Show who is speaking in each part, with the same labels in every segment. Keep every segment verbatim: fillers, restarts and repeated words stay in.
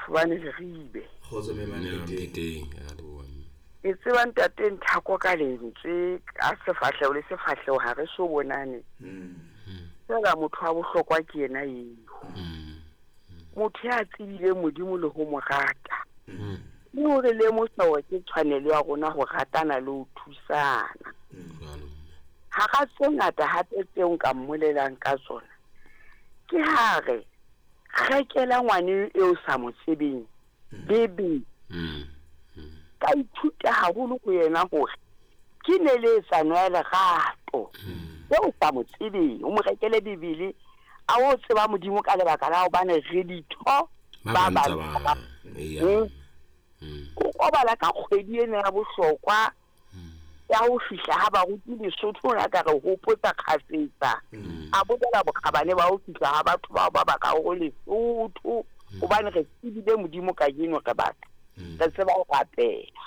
Speaker 1: Mafubane Leribe.
Speaker 2: Kgotso mme Mampheteng.
Speaker 3: Mpheteng, a leboha mme.
Speaker 1: Ke tseba ntate Nthako ka lentswe ka sefahleho le sefahleho ha re so bonane. Fela motho wa bohlokwa ke yena eo. Motho ya tsebileng Modimo le ho mo rata. Le hore lemosa hore ke tshwanelo ya rona ho ratana le ho thusana.
Speaker 3: Jwalo mme.
Speaker 1: Hara tse ngata hape tseo nka mmolelang ka tsona, ke ha re rekela ngwane eo sa mo tsebeng bebe.
Speaker 3: Mm.
Speaker 1: Ka ithuta haholo ho yena hore ke neletsano ya lerato eo sa mo tsebeng, o mo rekele Bibele a o tseba Modimo ka lebaka la hobane re ditho
Speaker 3: Ba
Speaker 1: ba
Speaker 3: bang
Speaker 1: bang
Speaker 3: tsa
Speaker 1: ba
Speaker 3: ba. Eya.
Speaker 1: Mm.
Speaker 3: Mm.
Speaker 1: O obala ka kgwedi ena ya bohlokwa ya ho fihla ha baruti Lesotho na ka re hopotsa kgafetsa. A bolela bokgabane ba ho fihla ha batho bao ba ba ka ho Lesotho hobane re tsebile Modimo kajeno re batho. Re tseba ho rapela.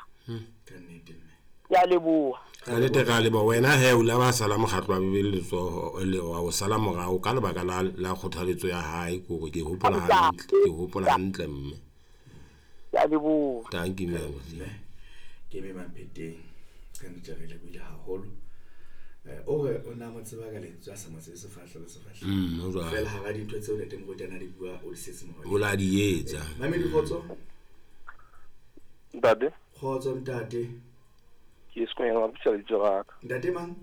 Speaker 2: Ka nnete mme.
Speaker 1: Ke a leboha.
Speaker 3: Ka nnete re a leboha. Wena he o la ba sala mokgatlo wa Bibele letsoho le wa o sala morao ka lebaka la la kgothaletso ya hae, ke hore ke hopola hantle, ke hopola hantle mme.
Speaker 1: Ke a leboha.
Speaker 3: Thank you mme.
Speaker 2: Mme ke mme Mampheteng. Ka nnete re lebohile haholo. Eh, o re o na mo tseba ka lentswe a sa mo tsebe sefahleho le sefahleho.
Speaker 3: Mm, ho jwalo.
Speaker 2: Fela hara dintho tseo ntate Moruti a na di bua o di setse morao.
Speaker 3: O la di etsa.
Speaker 2: Mamedi kgotso.
Speaker 4: Ntate.
Speaker 2: Kgotso ntate.
Speaker 4: Ke Sekonyela Mapitsa lebitso la ka.
Speaker 2: Ntate mang?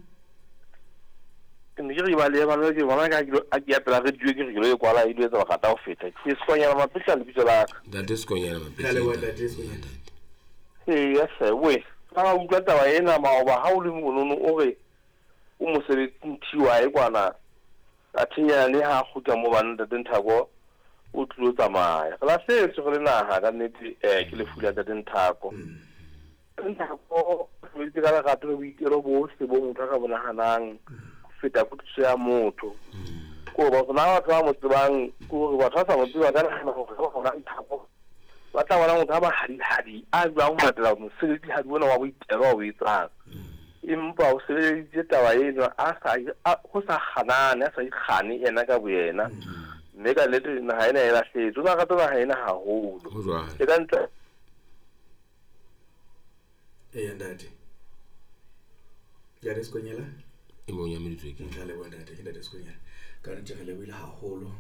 Speaker 4: Ke ne ke re ba le bana ke bona ka ke a ke ya pela radio ke re ke lo e kwala e lo etsa bakata ho feta. Ke Sekonyela Mapitsa lebitso la ka.
Speaker 3: Ntate Sekonyela Mapitsa.
Speaker 2: Re a leboha ntate Sekonyela.
Speaker 4: Ee, ya hle, we. Ha o utlwa taba ena maoba ha o le monono o re o mosebetsing T Y kwana a thinyane ha kgutla mo bana ntate Nthako o tlilo tsamaya. Re lahlehetswe re le naha ka nnete, eh, ke lefu la ntate Nthako. Nthako o sebeditse ka lerato le boitelo bohle bo motho a ka bo nahanang ho feta kutlwisiso ya motho. Ke hore batho ba batho ba mo tsebang, ke hore batho ba sa mo tsebang ba ka nahana hore ba bona Nthako ba tla bona motho a mahadihadi a jwang ho latela mosebetsi-hadi ona wa boitelo wa o etsang. Empa o sebeleditse taba eno a sa, a, ho sa kganane, a sa ikgane yena ka boyena. Mme ka nnete naha ena e lahlehetswe. O na rata naha ena haholo.
Speaker 3: Ho jwalo.
Speaker 4: E ka ntle.
Speaker 2: Eya ntate. Ntate Sekonyela?
Speaker 3: E bong ya meditswe ke.
Speaker 2: Nka leboha ntate, ke ntate Sekonyela. Ka nnete re lebohile haholo.